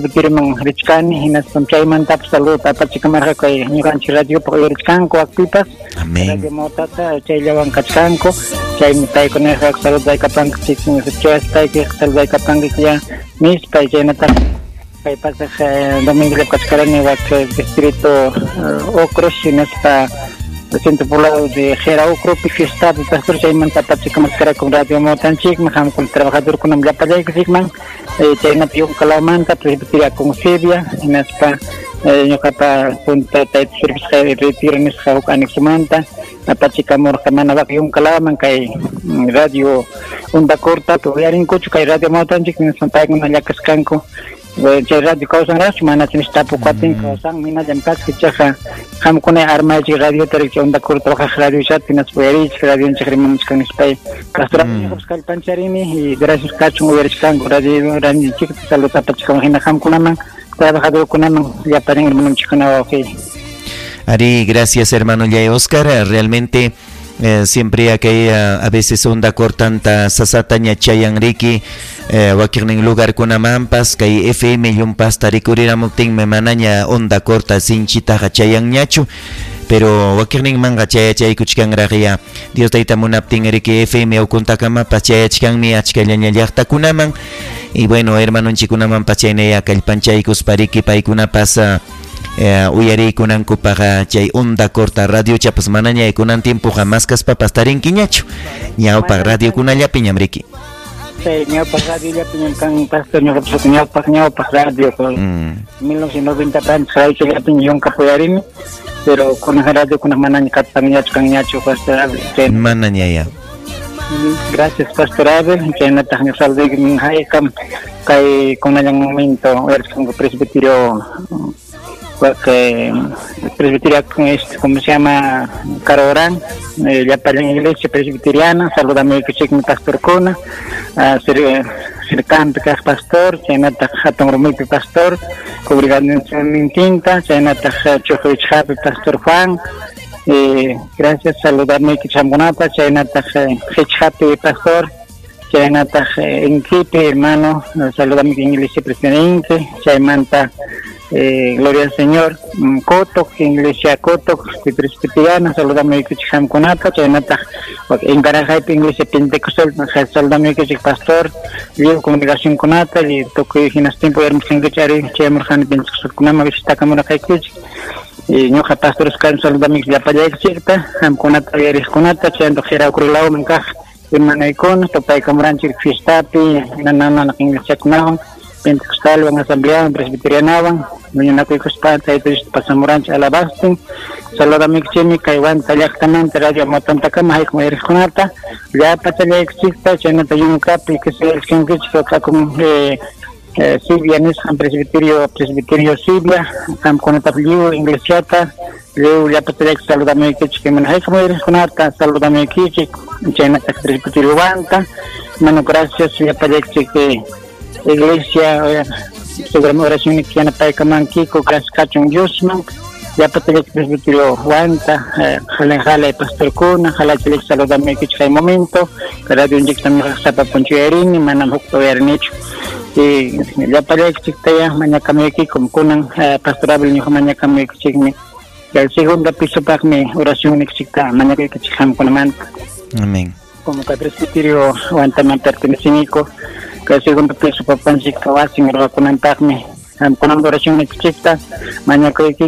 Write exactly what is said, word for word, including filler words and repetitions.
presbiterioman richkani hinaspam chaymantapas saludo apachikamarqa kay ñuqanchik radiopaq uyarichkanku wakpipas. Amén. Radio Motata chayllawan kachkanku chaymi paykunaqa saludaykapankichik chaspaykiq saludaykapankichik ya nispa chaynataq kay pasaq domingo kachkarani wak distrito Ocros hinaspa centro poblado de Jera Ocropi fiestapi pastor chaymanta apachikamarqa con Radio Motanchikman qamkuna trabajadorkunam llapallaykichikman chaynapi yunkalawmanta presbiteria con Sibia hinaspa ñuqapa punta tayta servisqa retiro nisqa huk anexomanta apachikamurqa mana wak yunkalaman kay radio onda corta uyarinkuchu kay Radio Motanchik hinaspa paykuna llakasqanku chay radio kawsanraqchu mana tapukuaptin kawsan hinallam kasqa ichaqa qamkuna armaychik radiota rikcha onda corta waqaq radiochata hinaspa uyarichik radionchik rimamuchkan nispay pastor ñuqapas kallpancharini y gracias kachun uyarichkanku radio radionchikta saludo apachikamun hina qamkunaman trabajadorkunaman llapallan hermanonchikkuna wawqi. Ari, gracias hermano Yay Oscar, realmente eh, siempre aquella a veces onda cortanta sasataña chayanriki eh, wakirnin lugar kunamampas kay F M yumpas tarikuriramuptin manaña onda corta sinchitaqa chayanñachu pero wakirnin manga chayachaykuchkanraqya Dios tayta munaptin riki F M ukuntakamapas chayachkanmi achkallaña llaqtakunaman y bueno hermanonchikunamanpas chaynaya kallpanchaykuspariki paykunapas Eh, uyariykunankupaqa chay onda corta radio chapas manaña kunan tiempoqa maskaspapas tarinkiñachu ñawpaq radiokunallapi ñamriki. Sí, ñawpaq radiollapi ñam kan pastor ñuqapas ñawpaq ñawpaq radio mil novecientos noventa radiollapi yunka puyarini pero kunan radio kunan manaña katpanñachu kanñachu pastor Abel. Manaña ya. Gracias pastor Abel, chaynataq ñuqaluyki haykam kay kunallan momento uyarishkanku presbiterio porque presbiterio este, ¿cómo se llama? Carorán, eh, llapallan iglesia presbiteriana, saludame que mi pastor Cuna, uh, Sircampi kaq pastor, chaynataq hatun rumipi pastor, congregación tinta, chaynataq Chuqwichqapi pastor Juan, eh, gracias saludarme que chamkunata, chaynataq Hichqapi pastor, chaynataq Inquipi hermano, saludame que iglesia presidente, chaymanta Eh, gloria al Señor, Cotoc, Iglesia Cotoc, presbiteriana, saludame que chamkunata, chaynataq encarajaypi Iglesia Pentecostal, saludame que pastor, liu comunicación kunata, y tokuy hinas tiempo yarmusqankichari, chaymurqani Pentecostalkunama visitakamurqaykichik, y ñuqa pastor Oscar saludame que llapallaykichikta, qamkunata uyariqkunata, chayntaq Jera-Ucrulawman kaq hermanaykuna, topaykamuranchik fiestapi, nanana iglesiakunawan, Pentecostalwan, asambleawan, presbiterianawan, huñunakuykuspa tayta Diosta pasamuranchik alabastin, saludamiykichikmi kay Huanta llaqtamanta radio Motantakama haykun uyariqkunata, llapachallaykichikta, chaynata yunkapi kisayachkankichik akun eh, eh, Sibia nisqan presbiterio, presbiterio Sibia, qamkunatapas lliw iglesiata, lliw llapachallaykichik saludamiykichik mana haykun uyariqkunata, saludamiykichik, chaynata presbiterio Huanta, mano gracias llapallaykichik eh, iglesia, seguramente oración cristiana paykamankiku, gracias kachun Diosman, llapatallak presbiterio Huanta, jala jala pastorkuna, jala chalik saludamiykichik kay momento, radionchikta ñuqaq punchuyarini, manam hukta uyarinichu. Y llapallaykichiktaya mañakamuykikum kunan pastor Abel ñuqa mañakamuykichikmi, el segundo pisopaqmi oracionnikichikta mañakuykichik qamkunamanta. Amén. Como que presbiterio Huantaman pertenecinico, que segundo piso papanchik wasin ruwakunanpaqmi qamkunan oracionnikichikta mañakuyki.